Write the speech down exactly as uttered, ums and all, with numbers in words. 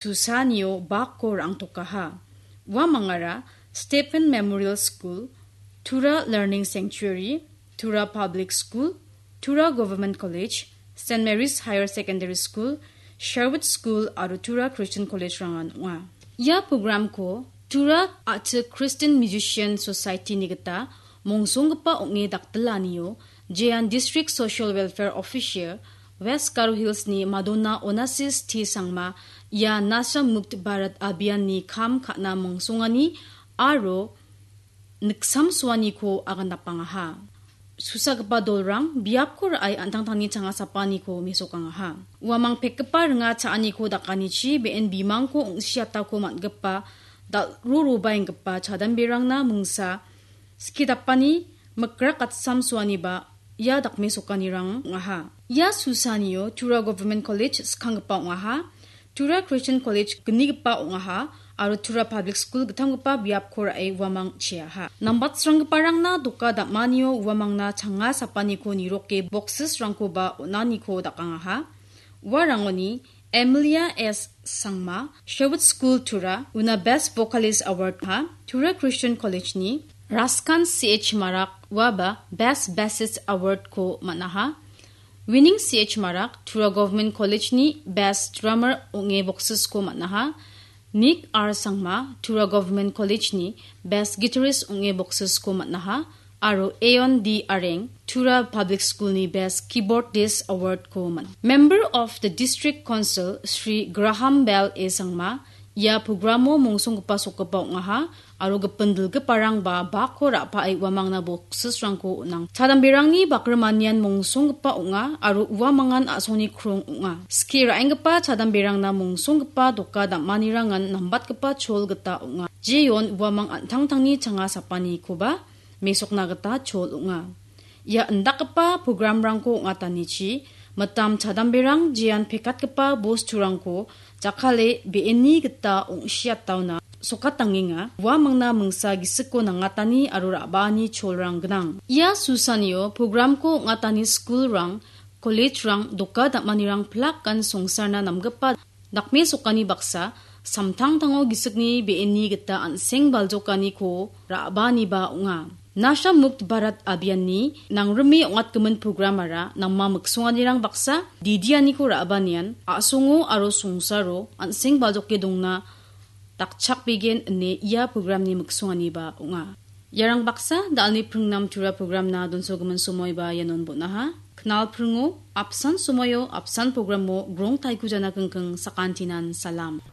Susanio bakko ra·angtokaha. Uamangara Stephen Memorial School, Tura Learning Sanctuary, Tura Public School, Tura Government College, Saint Mary's Higher Secondary School, Sherwood School aro Tura Christian College-rangan ong·a. Ia programko Tura A·chik Christian Musician Society-ni gita mongsonggipa ong·e dakdilanio jean District Social Welfare Officer West Garo Hills-ni Madonna Onassis T Sangma ia Nasha Mukt Bharat Abhiyan-ni kam ka·na mongsongani aro niksamsoaniko agandapangaha. Susagipa dolrang biapko ra·e an·tangtangni changa sapaniko mesokangaha. Uamang pekgipa ringa cha·aniko dakanichi be·en bimangko ong·siatako man·gipa dal·rorobaenggipa chadamberangna mingsa skie dapani mikrak gatsamsoaniba ia dakmesokanirang ong·aha. Ia Susanio Tura Government College skanggipa ong·aha. Tura Christian College gnigipa ong·aha aro Tura Public School gittamgipa biapko ra·e uamang cheaha. Nambatsranggiparangna doka dam·anio uamangna changa sapaniko niroke boxes-rangkoba on·aniko dakangaha. Uarangoni Emilia S Sangma, Sherwood School Tura, una Best Vocalist Award ha, Tura Christian College-ni Raskan C H Marak uaba Best Bassist Award-ko man·aha. Winning C H Marak, Tura Government College-ni Best Drummer ong·e boxes-ko man·aha. Nick R Sangma, Tura Government College-ni Best Guitarist ong·e boxes-ko man·aha. Aro Aeon D Areng, Tura Public School-ni Best Keyboardist Award-ko man-, Member of the District Council, Shri Graham Bell A Sangma, ia programo mongsonggipa sokgipa ong·aha, aro gipin dilgiparangba bakko ra·pae uamangna boxes-rangko on·ang. Chadamberangni bakrimanian mongsonggipa ong·a, aro uamangan a·songni krong ong·a. Skie ra·enggipa chadamberangna mongsonggipa doka dam·anirangan nambatgipa chol gita ong·a. Jeon uamang an·tangtangni changa sapanikoba mesokna gita chol ong·a. Ia indakgipa programrangko ong·atanichi, mitam chadamberang jean pekatgipa bosturangko jakkale be·eni gita ong·siataona sokatangenga. Uamangna mingsa gisikko nangatani aro ra·baani cholrang gnang. Ia Susanio programko ong·atani skulrang, college-rang, doka dam·anirang plakan songsarna namgipa dakmesokani baksa, samtangtango gisikni be·eni gita an·seng baljokaniko ra·baaniba ong·a. Nasha Mukt Bharat Abhiyan-ni nangrime ong·atgimin programara nangma miksonganirang baksa didianiko ra·baanian a·songo aro songsaro an·seng baljoke dongna dakchakbegen ine ia programni miksonganiba ong·a. Iarang baksa da·alni pringnam Tura programna donsogimin somoiba ianon bon·aha. Knal pringo, apsan somoio, apsan programo grong taiko jana kingking sakantinan salam.